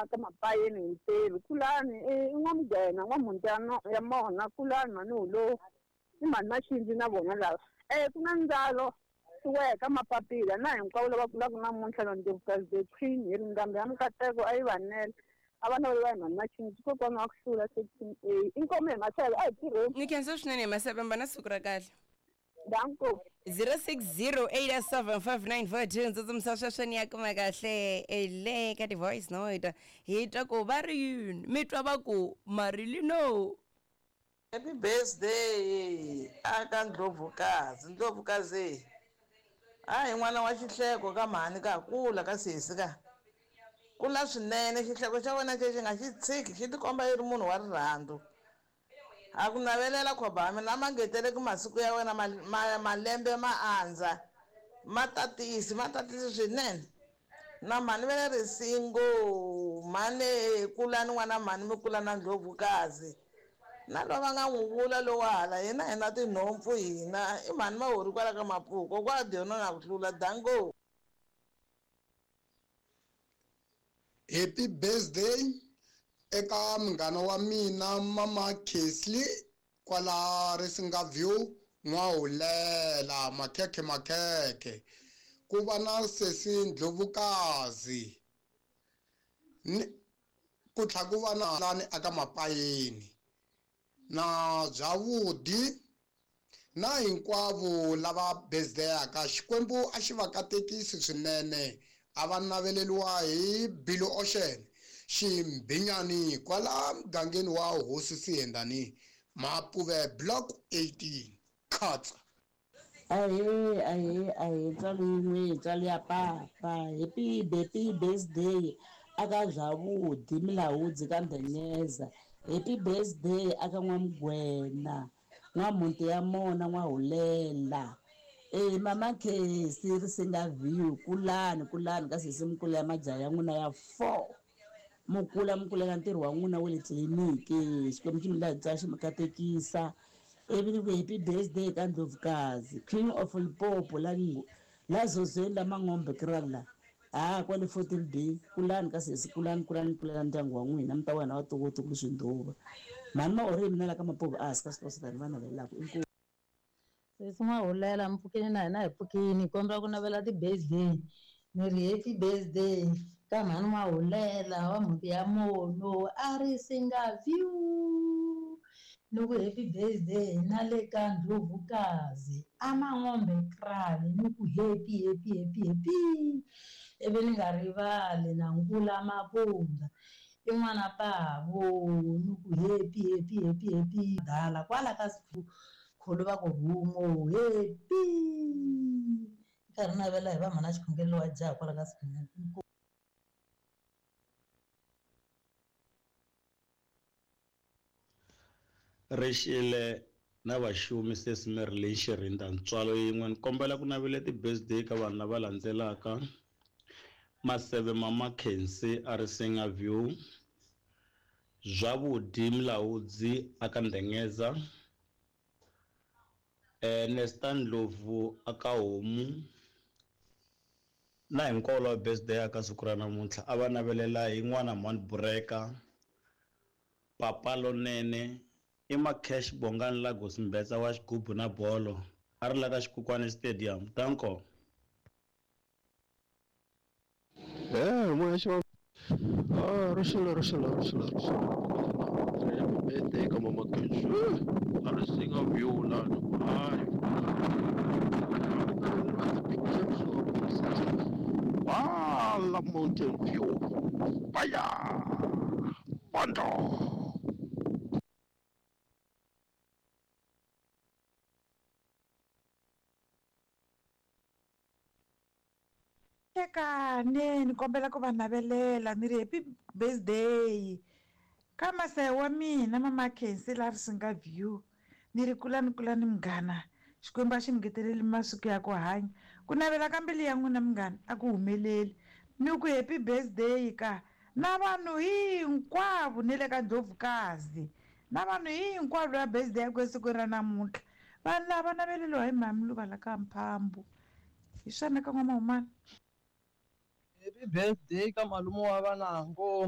la ka mapayeni hi ntirho kulani i n'wamugena n'wamuti ya mona kulani mhani hulo i mhani maxindzi na vona lava ku na ndzalo weka mapapila na hinkwavo lava kulaka namuntlha na ndlovukazi the queen hi ri ndhambi ya mikateko a yi vanele a va naveliwa hi mhani maxindzi kokwana wa ku hlula section A inkomu hi maseve a hi tirheni. Ni khensa swinene hi maseve mba na siku ra kahle. Danko. 0608755942 ntsutsumiso sweswo ni ya kuma kahle le ka ti-voice note hi twa ku va ri yini mi twa va ku marilino. Happy birthday aka Ndlovukazi. Ndlovukazi. Hayi n'wana wa xihleko ka mhani ka kula ka sesi ka. Kula swinene xihleko xa wena xexi nga xi tshiki xi tikomba yi ri munhu wa rirhandzu. A ku navelela khoba ya mina a ma ngeteleki masiku ya wena malembe ma andza ma tatisi ma tatisi swinene. Na mhani va le risingo mhani kulani n'wana mhani mi kula na ndlovukazi. Na loyi va nga n'wi vula lowa hala hina hi na tinhompfu hina i mhani mahori kwala ka mapuku kokwa dyona na ku hlula dango. Happy birthday eka munghana wa mina mama Kesley kwala Risinga View N'wahulela makhekhe makhekhe ku va na sesi Ndlovukazi ni ku tlha ku va na lani aka Mapayeni na Byavudi na hinkwavo lava birthday-aka Xikwembu a xi va katekisi swinene a va naveleriwa hi Billy Ocean Ximbinyani kwala mugangeni wa Hosi Siyendani Mapuve Block 18 Khatsa. Ahee ahee ahee ntswalo yin'we ntswalo ya papa happy happy birthday aka Dlawudi Milawudzi ka Ndhenyeza happy birthday aka N'wamugwena N'wamhunti ya mona N'wahulela e mama Khesi Risinga View kulani kulani ka sesi mukula ya majaha ya n'wina ya 4 mukula mukulela ntirho wa n'wina wa le tliliniki Xikwembu xi mi la xi mi katekisa ivi ni ku happy birthday ka Ndlovukazi King of Limpopo la la zozweni la Mangombe krala ha kwale 14B kulani ka sesi kulani kulani kulela ndyangu wa n'wina mi ta wena wa toko swindhuva mhani ma ori mina la ka Mapuve a hansi ka swilo swa va navelelaka inkomu. Sesi N'wahulela mi pfukini na hina hi pfukini hi kombela ku navela ti-birthday ni ri happy birthday ka mhani N'wahulela wa mhunti ya mono a ri singa view ni ku happy birthday na le ka Ndlovukazi a Mangombe krale ni ku happy happy happy happy ivi ni nga rivali na Nkula Mapunda i n'wana pavo ni ku happy happy happy happy dala kwala ka kholo va ku rhumo happy nkarhi navela hi va mhana xikhongelo wa jaha kwala ka Sikhonyana. Rixile na vaxumi sesi Marilyn Xirinda ntswalo yin'we ni kombela ku navela ti-birthday ka vanhu lava landzelaka Maseve Mama Khensi a Risinga View Zwavhudi Mulaudzi aka Ndengeza Nesta Ndlovu aka Homu na hinkwavo lava birthday aka siku ra namuntlha a va navelela hi n'wana Mhani Bureka Papa Lonene i Macash Bongani Lagos Mbetsa wa xigubu na bolo a ri la ka Xikukwana Stadium danko. Moya xi va rixile rixile rixile rixile happy birthday ka mama Khensi a ri singa view lani hayi wala Mountain View baya bando. Tekane ni kombela ku va navelela ni ri happy birthday ka masaya wa mina mama Khensi la Risinga View ni ri kulani kulani munghana Xikwembu a xi mi ngeteleli masiku ya ku hanya ku navela ka mbilu ya n'wina munghana a ku humeleli ni ku happy birthday ka na vanhu hinkwavo ni le ka Ndlovukazi na vanhu hinkwavo lava birthday ya ku esikwini ra namuntlha vanhu lava naveleliwa hi mhani Luva la ka Mphambu hi swona ka n'wamahumana. Happy birthday ka malume wa vanango.